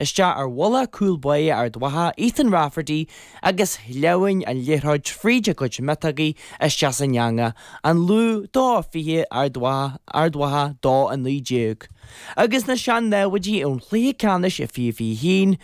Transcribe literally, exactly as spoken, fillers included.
isteach ar bhuille cúl báire Ard Mhacha Ethan Rafferty agus shleamhain an liathróid fríd a gcuid miotógaí isteach san eangach, an Lú dó fiche Ard Mhacha dó a naoi déag. Agus na sean-namhaidí ón chluiche ceannais i fiche fiche haon,